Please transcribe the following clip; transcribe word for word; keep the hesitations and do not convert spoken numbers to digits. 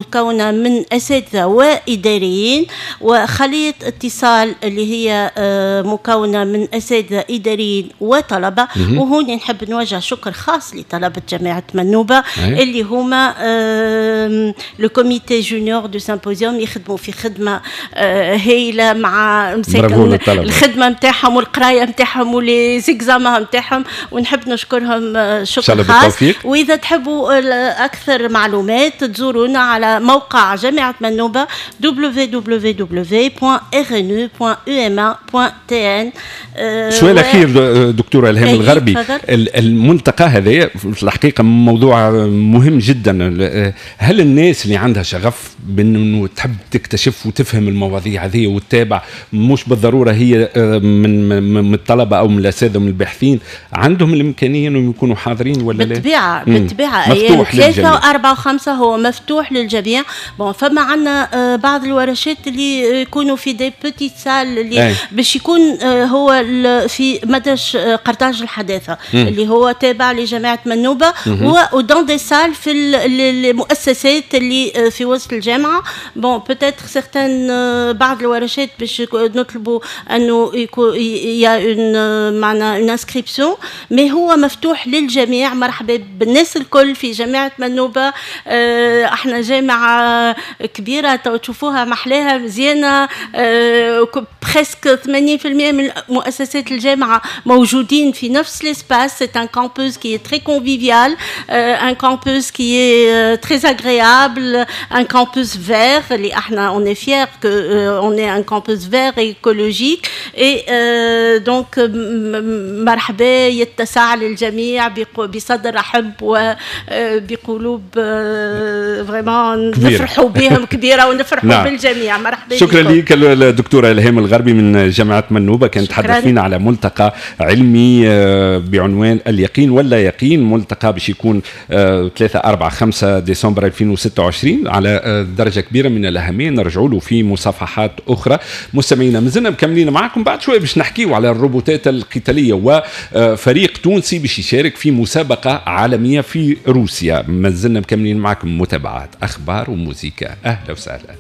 مكونة من اساتذة واداريين، وخليه اتصال اللي هي آه، مكونة من اساتذة، اداريين وطلبه. وهون نحب نوجه شكر خاص لطلبه جامعه منوبه اللي هما le comité junior du symposium، يخدموا في خدمة آه، هايلة مع مساكن الخدمة نتاعهم والقرايه نتاعهم و les examens نتاعهم، ونحب نشكرهم آه، شكر خاص. واذا تحبوا اكثر معلومات تزورونا على موقع جامعه منوبه www.rnu.uma.tn. سؤال اخير دكتورة الهام الغربي، الملتقى هذا في الحقيقة موضوع مهم جدا. هل الناس اللي عندها شغف بانه تحب تكتشف وتفهم المواضيع هذه وتتابع، مش بالضرورة هي آه، من من الطلبة او من الاساتذة ومن الباحثين، عندهم الامكانية انهم يكونوا حاضرين ولا لا؟ بالطبيعه، بالطبيعه. ايام ثلاثة وأربعة وخمسة هو مفتوح للجميع. bon، فما عندنا آه، بعض الورشات اللي يكونوا في des petites salles اللي باش يكون آه، هو في مدرج قرطاج الحداثة مم. اللي هو تابع لجامعة منوبه، و dans des salles في المؤسسات اللي في وسط الجامعه. bon، peut-être certaines بعض الورشات باش نطلبوا انه يكون il y a une معنا une inscription، mais هو مفتوح للجميع. مرحبا بالناس الكل في جامعه منوبه. احنا جامعه كبيره، تو تشوفوها محلاها مزيانه، presque ثمانين في المية من مؤسسات الجامعة موجودين في نفس l'espace. c'est un campus qui est très convivial، un campus qui est très agréable، un campus vert اللي احنا on est fiers que on est un campus vert et écologique. et donc مرحبا، يتسع للجميع بصدر رحب وبقلوب vraiment نفرحوا بهم كبيرة ونفرحوا نعم. بالجميع. مرحبا. شكرا لك الدكتورة الهام الغربي من جامعه منوبه، كانت تحدث فينا على ملتقى علمي آه، بعنوان اليقين ولا يقين، ملتقى باش يكون ثلاثة أربعة خمسة ديسمبر ألفين وستة وعشرين، على آه، درجه كبيرة من الاهميه، نرجعوا له في مصافحات اخرى. مستمعينا، مازلنا مكملين معكم، بعد شوية باش نحكيو على الروبوتات القتالية وفريق تونسي باش يشارك في مسابقة عالمية في روسيا. مازلنا مكملين معكم متابعات اخبار وموزيكا. اهلا وسهلا.